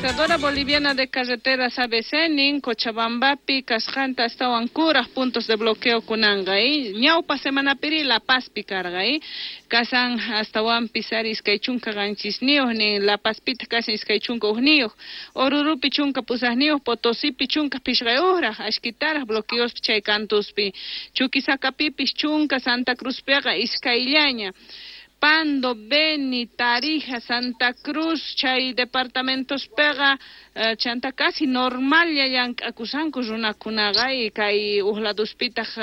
Administradora Boliviana de Carreteras ABC nin Cochabambapi kasqanta astawan kuraq puntos de bloqueo kunanqa ñawpa semanapiri La Pazpi karqa kasan astawanpis ari 27 nin La Pazpita kasan 21 Orurupi 18 Potosipi 15 ashkitaraq bloqueospi chay kantuspi Chuquisacapipis 10 Santa Cruzpiqa iskayllaña Pando, Beni, Tarija, Santa Cruz, chay departamentos pega, chanta casi normal llank'akusanku runakunaqa y kay uhladuspitaq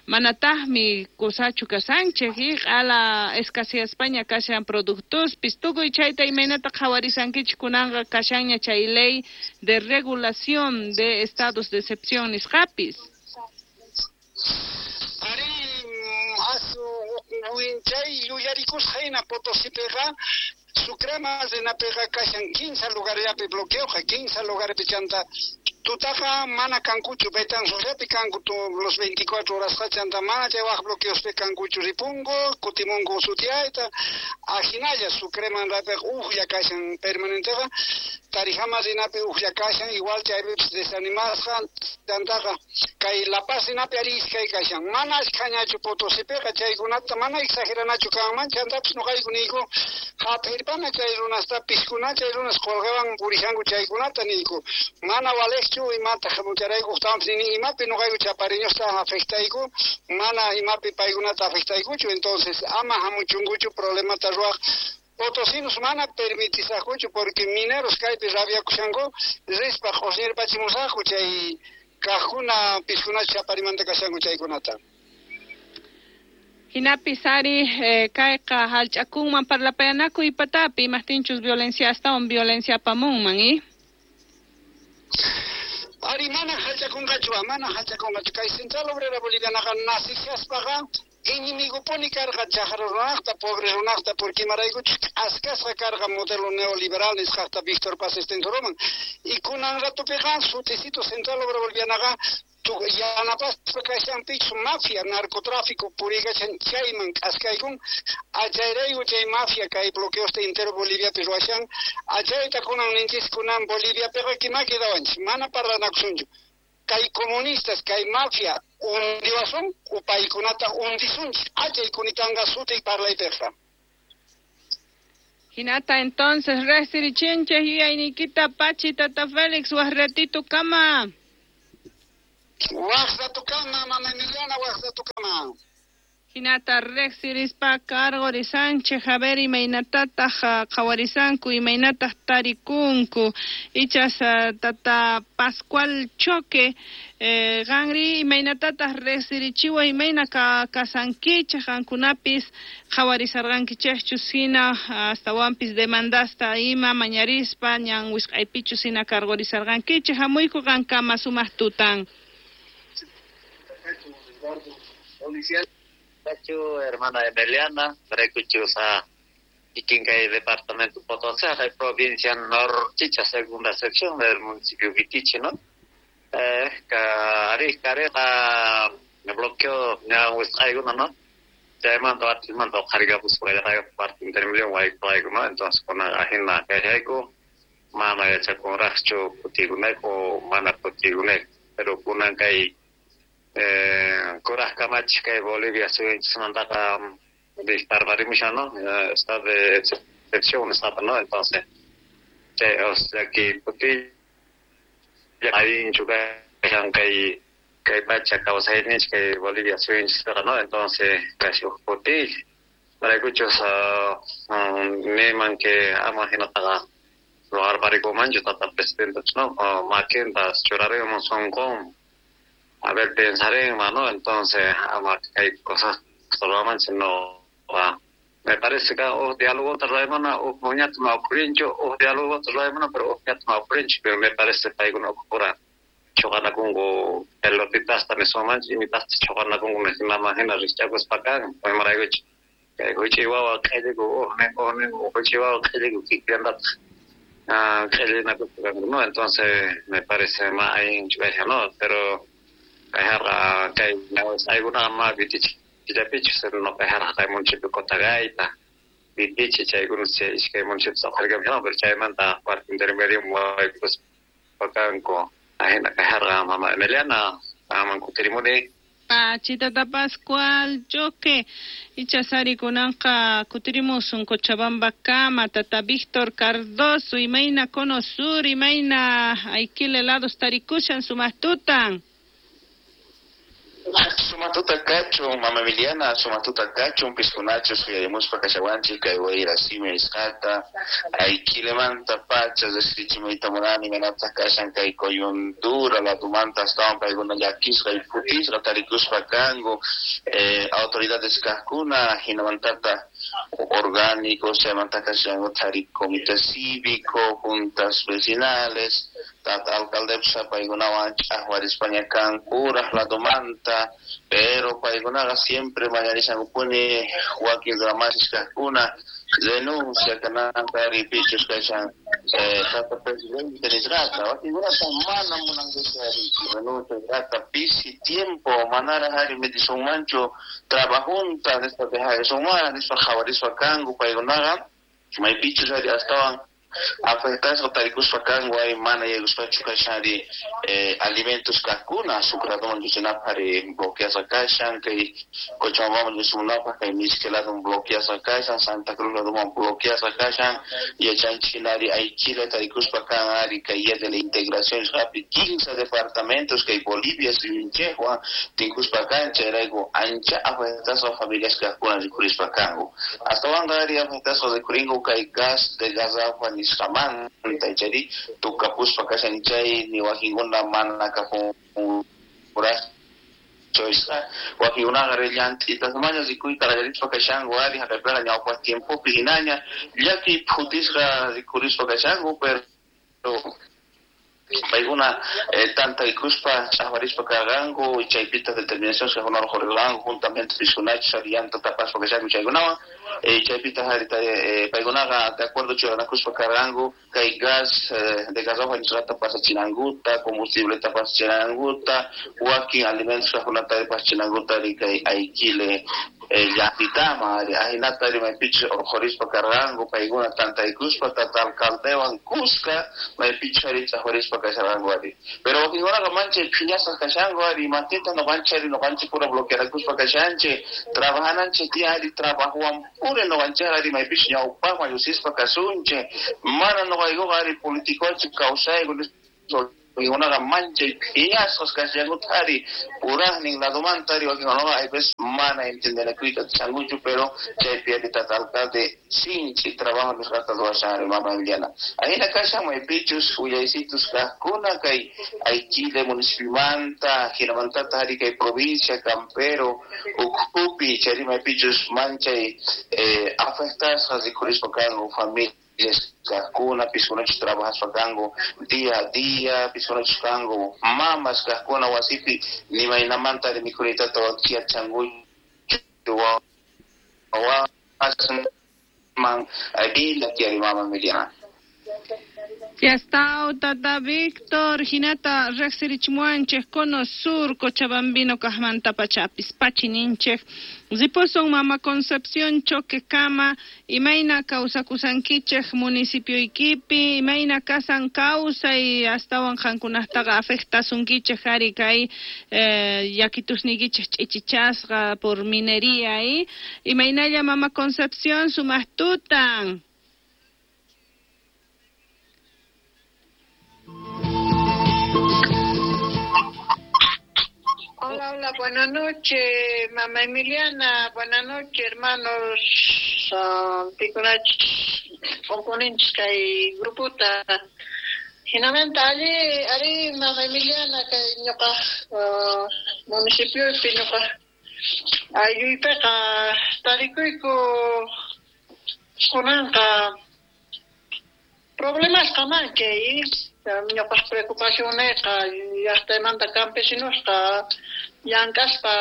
manataqmi kusachu kasanchik y q'ala escaseaspaña kashan productospis tukuy chayta imaynata qhawarisankichik kunanqa kashanña chay ley de regulación de estados de excepción nisqapis. Ari chay yuyarikusqa hina Potosipiqa Sucrema rinapiqa kashan 15 lugarllapi bloqueoqa 15 lugarpi chanta tutaqa mana kankuchu Betanzosllapi kanku los 24 horasqa chanta mana chay waq bloqueospi kankuchu ripunku kutimunku sutiayta ajinalla Sucreman rapiqa ujlla kashan permanenteqa Tarijama rinapi ujlla kashan igual chaypipis desanimasqa chantaqa kay La Paz rinapi ari iskay kashan mana ashkhañachu Potosipiqa chaykunata mana exageranachu kanman chantapis nuqayku niyku hap'irpana chay runasta piskuna chay runas qolqewan purishanku chaykunata niyku mana walejchu imata hamucharayku uqtawanpis nini imapi nuqayku chapariñusta afectayku mana imapi paykunata afectaykuchu entonces ama hamuchunkuchu problemata ruwaq Potosinos mana permitisaqkuchu porque mineros kaypi rabiakushanku rispa q'usñirpachimusaqku chay kaqkuna piskuna chaparimanta kashanku chaykunata. Hinapis ari kayqa hallch'akunman parlapayanakuy patapi imaqtinchus violencia astawan violencia apamunman Ari mana hallch'akunqachu mana hallch'akunqachu kay Central Obrera Bolivianaqa nacishaspaqa enemigopuni karqa chaqra runaqta pobre runaqta porque imaraykuchus k'askasqa karqa modelo neoliberal nisqaqta Víctor Paz Estenssoroman y kunan ratupiqa suticito Central Obrera Bolivianaqa yanapaspa kashanpichu mafia narcotráfico puriykachan chayman k'askaykun achayrayku chay mafia kay bloqueosta entero Boliviapi ruwashan achayta kunan ninchis kunan Boliviapiqa kima quedawanchis mana parlanakusunchu kay comunistas kay mafia hundiwasun u paykunata hundisunchis achay kunitanqa suti parlaypiqa. Hinata entonces resirichinchis yuyayniykita pachi tata Félix waq ratito kama. Waq ratukama mama Emiliana waq ratukama. Hinata riqsirispa karqurisanchik a ver imaynatataq qhawarisanku imaynataq tarikunku ichas tata Pascual Choque qanri imaynatataq riqsirichiwa imayna kasankichik qankunapis qhawarisarqankichikchus hina astawanpis demandasta ima mañarispa ñan wisq'aypichus hina karqurisarqankichik hamuyku qankama sumaq tutan. Hermana Emiliana, Brecuchusa, Iquincay, departamento Potosí, provincia Norchicha, segunda sección del municipio Vitichi, ¿no? Cari, me bloqueó, alguna, ¿no? Ya mando a ti, mando carga, pues, por el parte intermedio, ¿no? Entonces, con la agenda que hay, mana ya con racho, putiguneco, mana putiguneco, pero con kay kuraq kamachik kay Bolivia suyunchismantaqa disparparimushan, ¿no? Está de excepción, está, ¿no? Entonces, chay, o sea, que puti allinchu kashan kay pacha kawsayninchik kay Bolivia suyunchispiqa, ¿no? Entonces, casi huk puti maraykuchus niman que ama hinataqa ruwarparikumanchu tata presidente, ¿no? Makintas churarimun sunqun. A ver, pensaré, ¿no? Entonces, hay cosas no me parece que o diálogo traemana o muñat ma ocurrincho o diálogo traemana pero o ma ocurrincho, pero me parece que hay una ocurra chocana congo pelotitas también son manch y mitas chocana congo me imagino richagos pa acá pues maraguch que huichihuahua que o ne huichihuahua que que anda que no, entonces me parece más ahí no, pero kay alguna más vitichi no kay municipio Cotagaita Vitiche chaykuna chay iskay municipios uqharikamushan pero chaymanta cuarto intermedio waykuspa kanku ahina kasharqa mama Emiliana aman kutirimuni. Pachitata Pascual Choque ichasari kunanqa kutirimusun Cochabamba kama tata Víctor Cardoso imayna Cono Sur imayna Aiquile lados tarikushan sumaqtutan. Sumatuta kachun mama Emiliana, sumatuta kachun piskunachus uyarimuspa kashawanchik kay wayra simi nisqata Aiquilemanta pacha riqsichimuyta munani imaynataq kashan kay coyuntura ladomanta astawan paykuna llakisqa y phutisqa tarikuspa kanku autoridades kaqkuna hinamantata orgánicos chaymanta kashanku thari comité cívico, juntas vecinales, tata alcaldepsa paykunawan ch'aqwarispaña kankuraq ladomanta, pero paykunaqa siempre mañarishankupuni wakin ramasis kaqkuna denuncia kananta pichus kashan tata presidente nisqata wakinkunata mana munankuchu ari renuncia nisqata pisi tiempo manaraq ari metisunmanchu trabajunta nispa dejasunman nispa qhawarispa kanku paykunaqa maypichus ari astawan afectasqa tarikuspa kanku ay mana yaykuspachu kashan ari alimentos kaqkuna Sucre ladoman lluqsinapaq ari bloqueasqa kashan kay Cochabambaman lluqsimunapaq kay Mizque ladoman bloqueasqa kashan Santa Cruz ladoman bloqueasqa kashan yachanchik hina ari Aiquile tarikuspa kan ari kay día de la integración nisqapi 15 departamentos kay Bolivia suyunchikwan tinkuspa kan chayrayku ancha afectasqa familias kaqkuna rikurispa kanku astawanqa ari afectasqa rikurinku kay gas de garrafa nisqamanta chayri tukapuspa kashan chay ni wakinkuna mana kapunkuraqchu wakinkunaqa llant'itasmaña rikuyta qallarispa kashanku ari haqaypiqa ñawpaq tiempopi hinaña llakiy phutisqa rikurispa kashanku pero paykuna tantaykuspa ch'aqwarispa karqanku chaypitaq determinación kaqkunawan uqhurirqanku juntamente piskunachus ari llanta tapaspa kashanku chaykunawan chaypitaq ari paykunaqa de acuerdo churanakuspa karqanku kay gas de garrafa nisqata pasachinankuta combustibleta pasachinankuta wakin alimentos kaqkunata pasachinankuta ari kay Aiquile llaqtitama ari ahinata ari maypichus urqhurispa karqanku paykuna tantaykuspa tata alcaldewan kuska maypichus ari ch'aqwarispa kasharqanku ari pero wakinkunaqa manchay phiñasqa kashanku ari imatita ñuqanchik ari ñuqanchik pura bloquearakuspa kashanchik trabajananchik tiyan ari trabajowan puri ñuqanchik ari maypichus ñawpaqman lluqsispa kasunchik mana ñuqaykuqa ari politicochu kawsayku wakinkunaqa manchay phiñasqas kashankuta ari puraqnin ladomanta ari wakinkunaqa hay veces mana entendenakuyta atishankuchu pero chaypi ari tata alcalde sinchi trabajo nisqata ruwashan ari mama Emiliana ahina kashan maypichus willaysitus kaqkuna kay Aiquile municipiomanta hinamantata ari kay provincia Campero ukhupi chayri maypichus manchay afectasqa rikurispa kanku familia kaqkuna piskunachus trabajaspa kanku día a día piskunachus kanku mamas kaqkuna wasipi nimaynamanta ari mikhunitata wakiachankuchu wawasman llaki ari mama Emiliana. Ya está, tata Víctor, hinata riqsirichimuwanchik Cono Sur, Cochabambino kaqmanta pachapis pachininchik. Ripusun mama Concepción Choque kama, imayna kawsakusankichik municipioykipi, imayna kasan kawsay astawan qankunaqtaqa afectasunkichik ari kay llakitusniykichik ch'ichichasqa por minería imaynalla mama Concepción sumaq tutan. Hola, hola, buenas noches, mamá Emiliana, buenas noches, hermanos, pikunach, componentes kay grupota. Hinamanta ali, ari mamá Emiliana kay ñuqa municipiopi ñuqa aylluypiqa tarikuyku kunanqa problemasqa manchay ñuqaq preocupacionniqa llaqtaymanta campesinosqa llank'aspa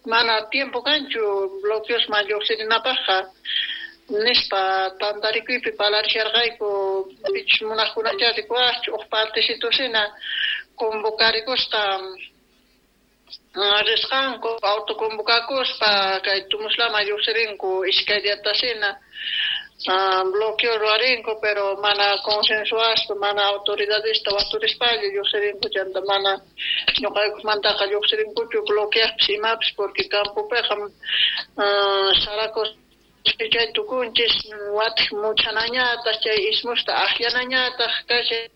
mana tiempo kanchu bloqueosman lluqsirinapaqqa nispa tantarikuypi parlarisharqayku pichus munaqkunachá rikuwaqchu uq partecitusina convocarikusqa Risqanku autoconvocakuspa kay Tumuslaman lluqsirinku iskay diatasina bloqueo ruwarinku, pero mana consensuaspa, mana autoridadesta waturispalla lluqsirinku, chanta mana ñuqaykumantaqa lluqsirinkuchu bloqueaqpis imapis, porque campopiqa saracos chay tukunchis watij muchanañataq chay ismusta akllanañataq kashan.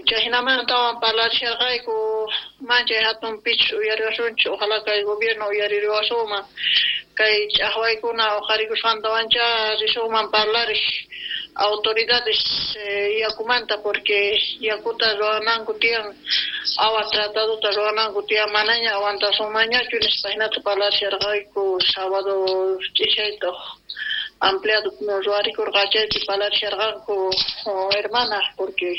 Chayhinamantawan parlarisharqayku manchay hatun pichus uyariwasunchis, ojalá kay gobierno uyaririwasunman kay ch'aqwaykuna uqharikusqantawancha risunman parlariq autoridades yakumanta, porque yakuta ruwananku tiyan, agua tratadota ruwananku tiyan, manaña aguantasunmanñachu nispa hinata parlarisharqayku sábado ch'ishayta ampliado ruwarikurqa chaypi parlarisharqanku hermana, porque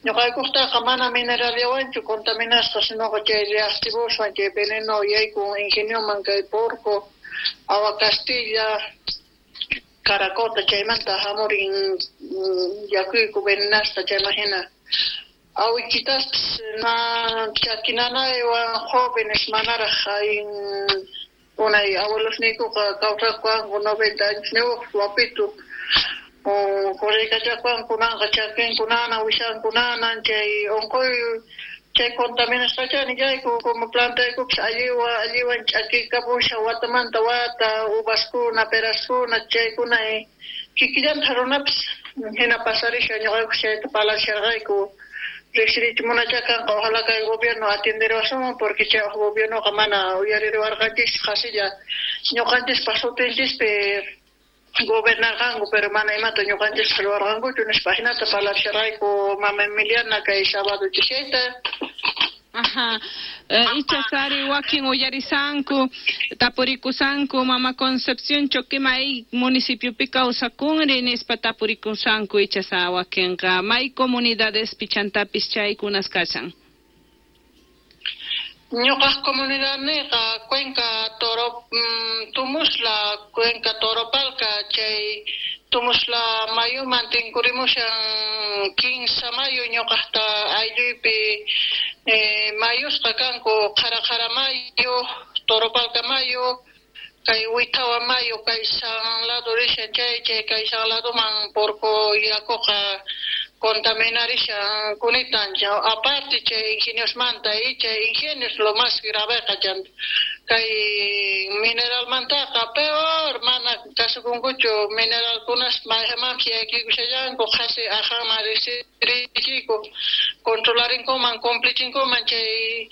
ñuqaykuqtaqa mana mineralllawanchu contaminasqa, sinoqa chay reactivoswan, chay veneno yaykun ingenioman kay Porco, Agua Castilla, Caracota, chaymanta hamurin yakuyku venenasqa. Chayman hina awichitaspis na chakinanaywan jóvenes manaraq ayin unay abuelosniykuqa kawsaqkanku 90 añosniyuq wapitu corriykachakuan kunanqa chakinkunana wishankunanan chay unquy chay contaminasqacha nillayku como plantaykupis alliwan alliwan ch'akikapushan watamanta wata uvaskuna peraskuna chaykuna kikillanta runapis hina pasarishan. Ñuqayku chayta parlarisharqayku riqsirichimunacha kanqa, ojalá kay gobierno atienderiwasunman, porque chay gobiernoqa mana uyaririwarqanchis, qasilla ñuqanchispaq sutinchispi gobernarqanku, pero mana imata ñuqanchispaq ruwarqankuchu nispa hinata parlarisharqayku mama Emiliana kay sábado ch'ishayta. Ajá. Icha sari wakin uyarisanku, tapurikusanku mama Concepción Choquima may municipiopi kawsakunri nispa tapurikusanku icha sa wakinqa may comunidades pichantapis chaykunas kashan. Ñuqaq comunidadniyqa Cuenca Toro Tumusla, Cuenca Toropalca, chay Tumusla mayuman tinkurimushan kinsa mayu ñuqaqta aylluypi mayusqa kanku Qhara Qhara mayu, Toropalca mayu, kay Huitawa mayu kay San lado rishan chay chay kay San ladoman Porco yakuqa contaminarishan kunitan, aparte chay ingeniosmanta y chay ingenios lo más graveqa chanta kay mineralmantaqa peor mana kasukunkuchu mineralkunas mayqanmanpis yaykuykushallanku qhasi aqhanman riqsirichiyku controlarinkuman cumplichinkuman chay.